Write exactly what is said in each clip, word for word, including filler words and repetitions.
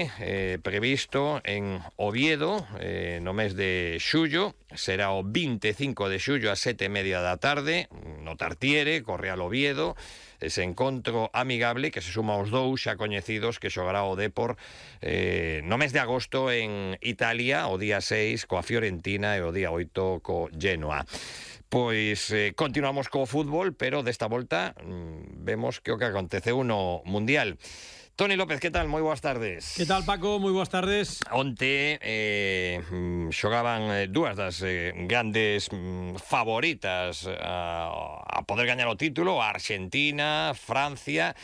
Eh, previsto en Oviedo, eh, no mes de xullo, será o vinte e cinco de xullo a sete e media da tarde, no Tartiere, Correal Oviedo, ese encontro amigable que se suma aos dous xa coñecidos que xogará o Depor eh, no mes de agosto en Italia, o día seis coa Fiorentina e o día oito co Genoa. Pois eh, continuamos co fútbol, pero desta volta mmm, vemos que o que aconteceu no Mundial. Toni López, que tal? Moi boas tardes. Que tal, Paco? Moi boas tardes. Onte eh, xogaban dúas das eh, grandes mm, favoritas a, a poder gañar o título, a Argentina, Francia.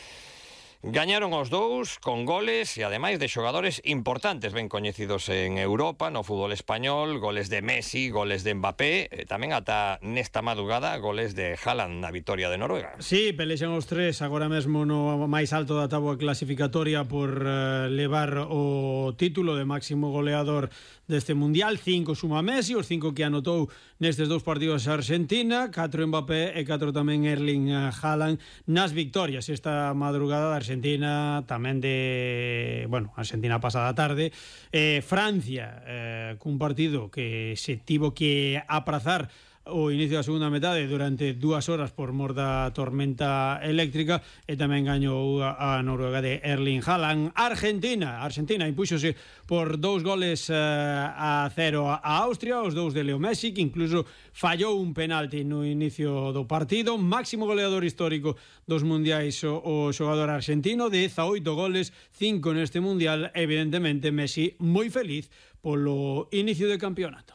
Gañaron os dous con goles e ademais de xogadores importantes ben coñecidos en Europa, no fútbol español, goles de Messi, goles de Mbappé, e tamén ata nesta madrugada goles de Haaland na vitoria de Noruega. Sí, pelexan os tres agora mesmo no máis alto da táboa clasificatoria por uh, levar o título de máximo goleador deste Mundial. Cinco suma Messi, os cinco que anotou nestes dous partidos a Argentina, catro Mbappé e catro tamén Erling Haaland nas victorias esta madrugada da Argentina. Argentina tamén de, bueno, Argentina pasada tarde, eh, Francia eh, cun partido que se tivo que aprazar o inicio da segunda metade durante dúas horas por mor da tormenta eléctrica, e tamén gañou a, a Noruega de Erling Haaland. Argentina, Argentina impúxose por dous goles uh, a cero a Austria, os dous de Leo Messi, que incluso fallou un penalti no inicio do partido. Máximo goleador histórico dos mundiais o, o xogador argentino, dezaoito goles, cinco neste mundial. Evidentemente Messi moi feliz polo inicio de campeonato.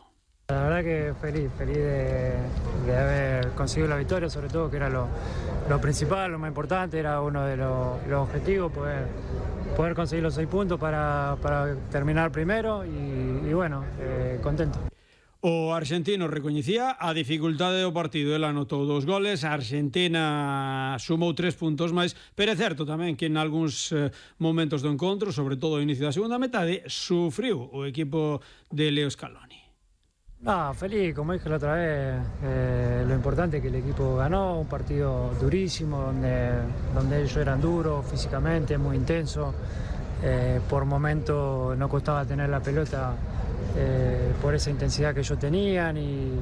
La verdad que feliz, feliz de, de haber conseguido la victoria, sobre todo que era lo, lo principal, lo más importante, era uno de los, los objetivos, poder, poder conseguir los seis puntos para, para terminar primero y, y bueno, eh, contento. O argentino recoñecía a dificultade do partido, el anotou dos goles, a Argentina sumou tres puntos máis, pero é certo tamén que en algúns eh, momentos do encontro, sobre todo ao inicio da segunda metade, sufriu o equipo de Leo Scaloni. No, feliz, como dije la otra vez, eh, lo importante es que el equipo ganó, un partido durísimo, donde, donde ellos eran duros físicamente, muy intensos, eh, por momentos no costaba tener la pelota eh, por esa intensidad que ellos tenían y,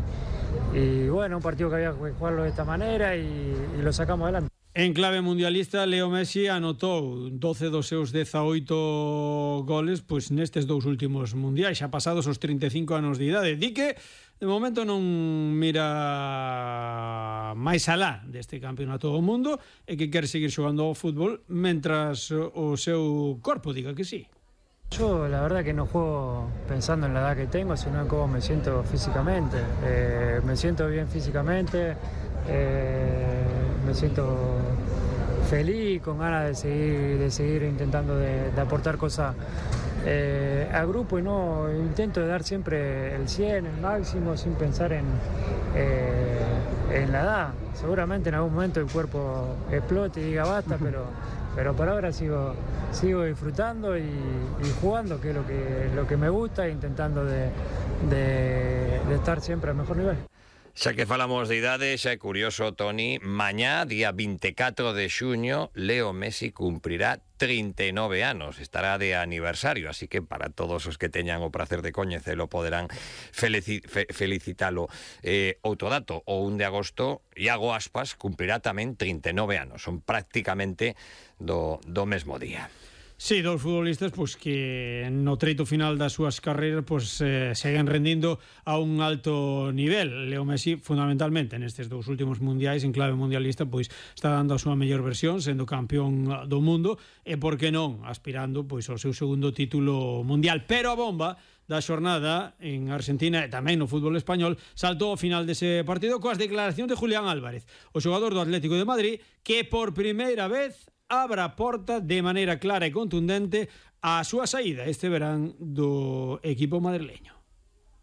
y bueno, un partido que había que jugarlo de esta manera y, y lo sacamos adelante. En clave mundialista, Leo Messi anotou doce dos seus dezaoito goles pois nestes dous últimos mundiais, xa pasados os trinta e cinco anos de idade. Di que de momento non mira máis alá deste campeonato do mundo e que quere seguir xogando ao fútbol mentras o seu corpo diga que sí. Yo la verdad que no juego pensando en la edad que tengo, sino en cómo me siento físicamente. Eh, me siento bien físicamente, eh, me siento feliz, con ganas de seguir, de seguir intentando de, de aportar cosas eh, al grupo y no intento de dar siempre el cien, el máximo, sin pensar en, eh, en la edad. Seguramente en algún momento el cuerpo explote y diga basta, pero, pero por ahora sigo, sigo disfrutando y, y jugando, que es lo que, lo que me gusta, e intentando de, de, de estar siempre al mejor nivel. Xa que falamos de idade, xa é curioso, Toni, mañá, día vinte e catro de xuño, Leo Messi cumprirá trinta e nove anos, estará de aniversario, así que para todos os que teñan o prazer de coñecelo poderán felici fe felicitalo. Eh, outro dato, o un de agosto, Iago Aspas cumprirá tamén trinta e nove anos, son prácticamente do, do mesmo día. Sí, dos futbolistas pois que no treito final das súas carreiras pois eh, seguen rendindo a un alto nivel. Leo Messi fundamentalmente nestes dous últimos mundiais en clave mundialista pois está dando a súa mellor versión, sendo campeón do mundo e por que non aspirando pois ao seu segundo título mundial. Pero a bomba da xornada en Argentina e tamén no fútbol español saltou ao final dese partido coas declaracións de Julián Álvarez, o xogador do Atlético de Madrid, que por primeira vez abra a porta de maneira clara e contundente a súa saída este verán do equipo madrileño.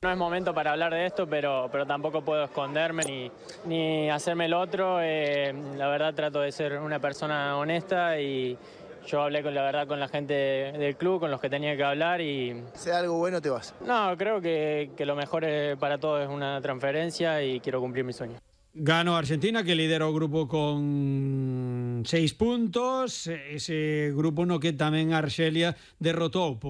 No es momento para hablar de esto, pero, pero tampoco puedo esconderme ni, ni hacerme el otro. Eh, la verdad trato de ser una persona honesta y yo hablé con la verdad con la gente del club, con los que tenía que hablar y... Si hay algo bueno te vas. No, creo que, que lo mejor para todos es una transferencia y quiero cumplir mi sueño. Ganó Argentina, que lidera o grupo con seis puntos. Ese grupo no que tamén Arxelia derrotou por